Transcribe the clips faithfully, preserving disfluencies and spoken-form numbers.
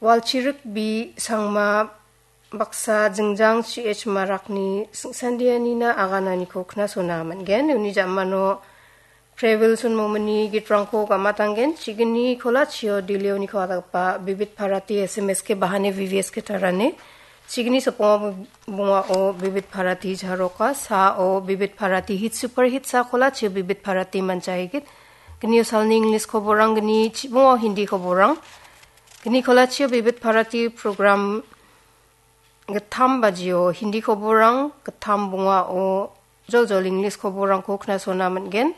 Walchirik B Sangma baksa jingjang C H Marakni singsandianina agananiko knasona man·gen. Uni jamano Previlson Momini gitrangko gamatanggen. Chigni kolachio Dilioniko adakgipa Bibit Bharati S M S ke bahane V V S ke tarane. Chigni sopongo bungao Bibit Bharati jaroka, sao Bibit Bharati hit super hit sa kolachio Bibit Bharati manchaigit. Gnio salni English koborang, gni chibungo Hindi koborang. Gni kolachio Bibit Bharati program gittam bajio Hindi koborang, gittam bungao joljol English koborangko knasona man·gen.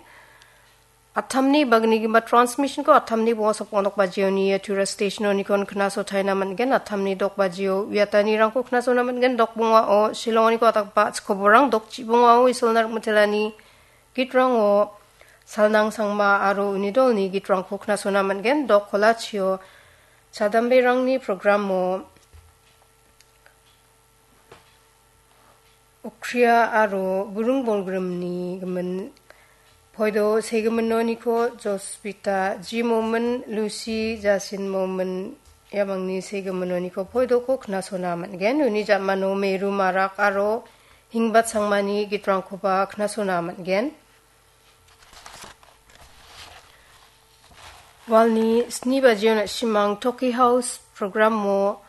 Attamni bagnigipa transmission-ko attamni bonga sokong dok bajioni ia Tura station-onikon knasotaina man·gen. Attamni dok bajio uiatanirangko knasona man·gen. Dok bungao Shillong-oniko atakba chikoborang, dok chibungao Isolna Rikmitelani gitrango Salnang Sangma aro uni dolni gitrangko knasona man·gen. Dok kolachio chadamberangni programo Okria aro Burung Bolgrimni gimin Poido Segiminoniko Jospita G Momin, Lucy Jasin Momin, iamangni Segiminoniko Poidoko knasona man·gen. Uni jamano Meru Marak aro Hingbat Sangmani gitrangkoba knasona man·gen. Walni sni bajio na·simang Toki House programo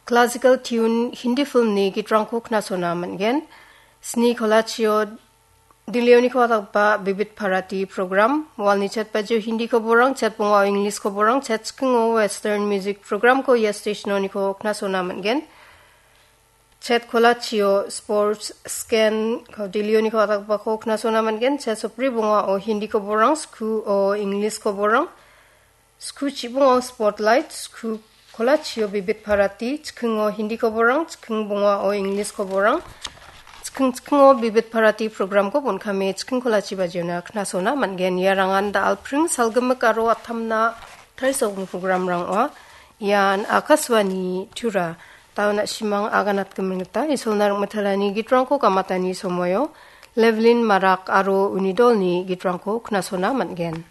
classical tune Hindi filmni gitrangko knasona man·gen. Sni kolachio Dilioniko atakba Bibit Bharati program, walni chet bajio Hindi koborang, chet bungao English koborang, chet chikingo Western music programko ia station-oniko knasona man·gen. Chet kolachio sports scan ko Dilioniko atakbako knasona man·gen. Chet sopri bungao Hindi koborang, skuo English koborang, sku chibungo spotlight, sku kolachio Bibit Bharati, chikingo Hindi koborang, chiking bungao English koborang, chiking chikingo Bibit Bharati programko bon·kame chiking kolachi bajiona knasona man·gen. Iarangan da·alpring salgimik aro attamna tarisogimin programrang ong·a. Ian Akashvani Tura. Tauna simang aganatgimin gita Isolna Rikmitelani gitrangko gamatani somoio Levelin Marak aro uni dolni gitrangko knasona man·gen.